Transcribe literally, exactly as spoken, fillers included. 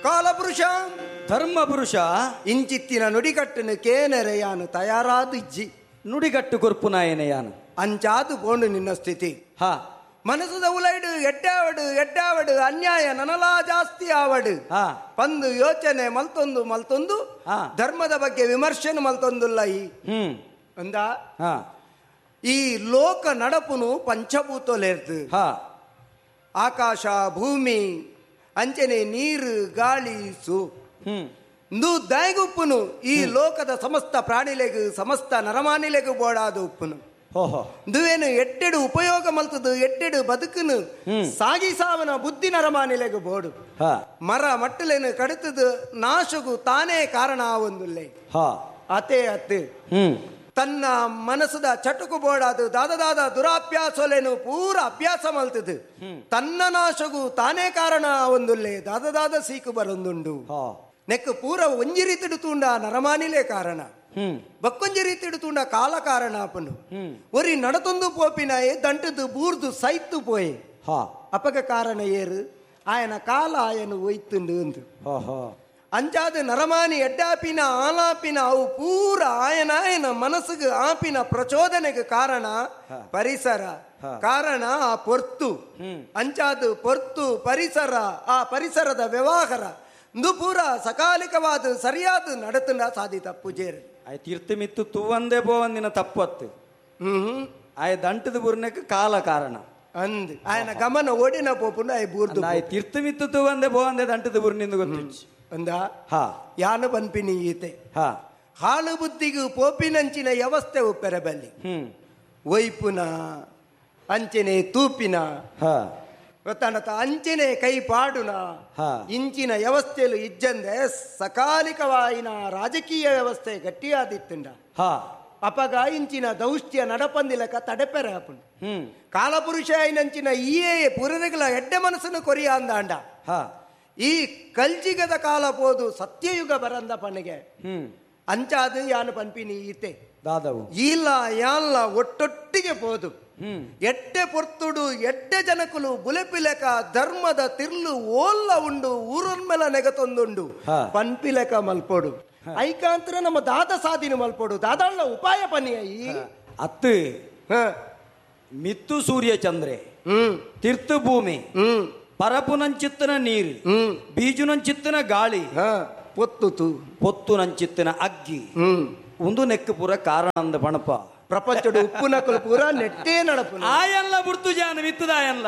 ಕಾಲಪುರುಷ ಧರ್ಮ ಪುರುಷ ಇಂಚಿತ್ತಿನ ನುಡಿಕಟ್ಟನು ಕೇನರೆ ಯಾನು ತಯಾರಾದಿಜ್ಜಿ ನುಡಿಗಟ್ಟು ಕೊರ್ಪುನಾಯನೆ ಯಾನು ಅಂಚಾದು ಪೋಂಡು ನಿನ್ನ ಸ್ಥಿತಿ. ಹಾ. ಮನಸ್ಸದ ಉಲೈಡು ಎಡ್ಡಾವಡು ಎಡ್ಡಾವಡು ಅನ್ಯಾಯ ನನಲಾ ಜಾಸ್ತಿ ಆವಡು ಹಾ. ಪಂದು ಯೋಚನೆ ಮಲ್ತೊಂದು ಮಲ್ತೊಂದು ಹಾ. ಧರ್ಮದ ಬಗ್ಗೆ ವಿಮರ್ಶೆ ಮಲ್ತೊಂದುಲ್ಲ ಈ ಹ್ಮ್ ಅಂದ ಹಾ. ಈ ಲೋಕ ನಡಪುನು ಪಂಚಭೂತಲೇರ್ದು ಹಾ. ಆಕಾಶ ಭೂಮಿ ಅಂಚನೆ ನೀರು ಗಾಳಿ ಸು ಹ್ಮ್ ಇಂದು ದಾಯಗುಪ್ಪುನು ಈ ಲೋಕದ ಸಮಸ್ತ ಪ್ರಾಣಿಲೆಗು ಸಮಸ್ತ ನರಮಾನಿಲೆಗು ಬೋಡಾದ ಉಪ್ಪುನು ಓಹೋ ದುವೇನು ಎಟ್ಟೆಡು ಉಪಯೋಗ ಮಲ್ತದು ಎಟ್ಟೆಡು ಬದುಕುನು ಸಾಗಿಸಾವನ ಬುದ್ಧಿ ನರಮಾನಿಲೆಗು ಬೋಡು ಹಾ. ಮರ ಮಟ್ಟಲೇನು ಕಡಿತದು ನಾಶಗು ತಾನೇ ಕಾರಣ ಒಂದುಲ್ಲೆ ಹಾ. ಅತೇ ಅತ್ತೆ ಹ್ಮ್ ತನ್ನ ಮನಸ್ಸದ ಚಟುಕು ಬೋಡಾದು ದಾದ ದುರಾಭ್ಯಾಸಲೇನು ಪೂರ ಅಭ್ಯಾಸ ಮಲ್ತದು ತನ್ನ ನಾಶಗು ತಾನೇ ಕಾರಣ ಒಂದುಲ್ಲೆ ದಾದ ದಾದ ಸೀಕು ಬರೊಂದುಂಡು ಹಾ. ನೆಕ್ ಪೂರ ಒಂಜಿ ರೀತಿಡು ತೂಂಡ ನರಮಾನಿಲೇ ಕಾರಣ ಹ್ಮ್ ಬಕ್ಕೊಂಜಿ ರೀತಿಡು ತೂಂಡ ಕಾಲ ಕಾರಣ ಅಪನು ಒರಿ ನಡತೊಂದು ಪೋಪಿನಾಯೆ ದಂಟದು ಬೂರ್ದು ಸೈತು ಪೋಯೆ ಹಾ. ಅಪಗ ಕಾರಣ ಏರು ಆಯನ ಕಾಲ ಆಯನು ಒಯ್ತುಂಡು ಅಂದು ಓಹೋ ಅಂಚಾದ ನರಮಾನಿ ಎಡ್ಡಾಪಿನ ಆಲಾಪಿನ ಅವು ಪೂರ ಆಯನ ಆಯನ ಮನಸ್ಸಿಗೆ ಆಪಿನ ಪ್ರಚೋದನೆಗೆ ಕಾರಣ ಪರಿಸರ ಕಾರಣ ಆ ಪೊರ್ತು ಅಂಚಾದ ಪೊರ್ತು ಪರಿಸರ ಆ ಪರಿಸರದ ವ್ಯವಹಾರ ಇಂದು ಪೂರ ಸಕಾಲಿಕವಾದ ಸರಿಯಾದ ನಡತನ ಸಾಧಿತ ಪೂಜೇರು ಆಯ್ ತೀರ್ಥ ಮಿತ್ತು ತೂವಂದೇ ಪೋವಂದಿನ ತಪ್ಪತ್ತು ಹ್ಮ್ ಆಯ್ ದಂಟದ ಬುರ್ನಕ್ಕೆ ಕಾಲ ಕಾರಣ ಅಂದ್ ಆಯನ ಗಮನ ಓಡಿನ ಪೋಪುಂಡು ಆಯ್ ಬೂರ್ದು ಆಯ್ ತೀರ್ಥ ಮಿತ್ತು ತೂವಂದೇ ಪೋವಂದೆ ದಂಟದ ಬುರ್ನಿಂದ ಗೊತ್ತಿಚ್ಚು ಅಂದ ಹಾ. ಯಾನು ಪನ್ಪಿನಿ ಈತೆ ಹಾ. ಹಾಳು ಬುದ್ಧಿಗೂ ಪೋಪಿನಂಚಿನ ವ್ಯವಸ್ಥೆ ಉಪ್ಪೆರಬಲ್ಲಿ ಹ್ಮ್ ಒಯ್ಪುನ ಅಂಚನೆ ತೂಪಿನ ಹಾ. ಗೊತ್ತಾಣತ ಅಂಚನೆ ಕೈ ಪಾಡುನ ಹಾ. ಇಂಚಿನ ವ್ಯವಸ್ಥೆಲು ಇಜ್ಜಂದೆ ಸಕಾಲಿಕವಾಯಿನ ರಾಜಕೀಯ ವ್ಯವಸ್ಥೆ ಗಟ್ಟಿಯಾದಿತ್ತುಂಡ ಹಾ. ಅಪಗ ಇಂಚಿನ ದೌಷ್ಟ್ಯ ನಡಪಂದಿಲಕ ತಡೆಪೆರ ಅಪುಂಡು ಹ್ಮ್ ಕಾಲಪುರುಷ ಐನಂಚಿನ ಈಯೇ ಪುರರಿಗಳ ಎಡ್ಡೆ ಮನಸ್ಸನ್ನು ಕೊರಿಯ ಅಂದಾಂಡ ಹಾ. ಈ ಕಲ್ಜಿಗದ ಕಾಲ ಪೋದು ಸತ್ಯಯುಗ ಬರಂದ ಪನಿಗೆ ಹ್ಮ್ ಅಂಚಾದು ಯಾನು ಪನ್ಪಿನಿ ಈತೆ ದಾದವು ಇಲ್ಲ ಯಾನ್ಲ ಒಟ್ಟೊಟ್ಟಿಗೆ ಪೋದು ಹ್ಮ್ ಎಡ್ಡೆ ಪೊರ್ತುಡು ಎಡ್ಡೆ ಜನಕುಲು ಬುಲೆಪಿಲೆಕ ಧರ್ಮದ ತಿರ್ಲು ಓಲ್ಲ ಉಂಡು ಊರನ್ಮೆಲ ನೆಗತೊಂದುಂಡು ಹಾ. ಪನ್ಪಿಲೆಕ ಮಲ್ಪೋಡು ಐಕಾಂತರ ನಮ್ಮ ದಾದ ಸಾಧಿನ ಮಲ್ಪೋಡು ದಾದಾಳ್ನ ಉಪಾಯ ಪನಿಯ ಈ ಅತ್ತು ಹ. ಮಿತ್ತು ಸೂರ್ಯ ಚಂದ್ರೆ ಹ್ಮ್ ತೀರ್ಥ ಭೂಮಿ ಹ್ಮ್ ಪರಪುನಂಚಿತ್ತನ ನೀರು ಹ್ಮ್ ಬೀಜುನಂಚಿತ್ತನ ಗಾಳಿ ಹ ಪೊತ್ತುತು ಪೊತ್ತು ನಂಚಿತ್ತನ ಅಗ್ಗಿ ಹ್ಮ್ ಒಂದು ನೆಕ್ಕು ಪೂರ ಕಾರಣ ಅಂದ ಪಣಪ ಪ್ರಪಂಚದ ಉಪ್ಪು ನಕಲು ಪೂರ ನೆಟ್ಟೇ ನಡಪು ಆಯಲ್ಲ ಬುಡ್ತು ಜಾನ ಮಿತ್ತದ ಆಯಲ್ಲ.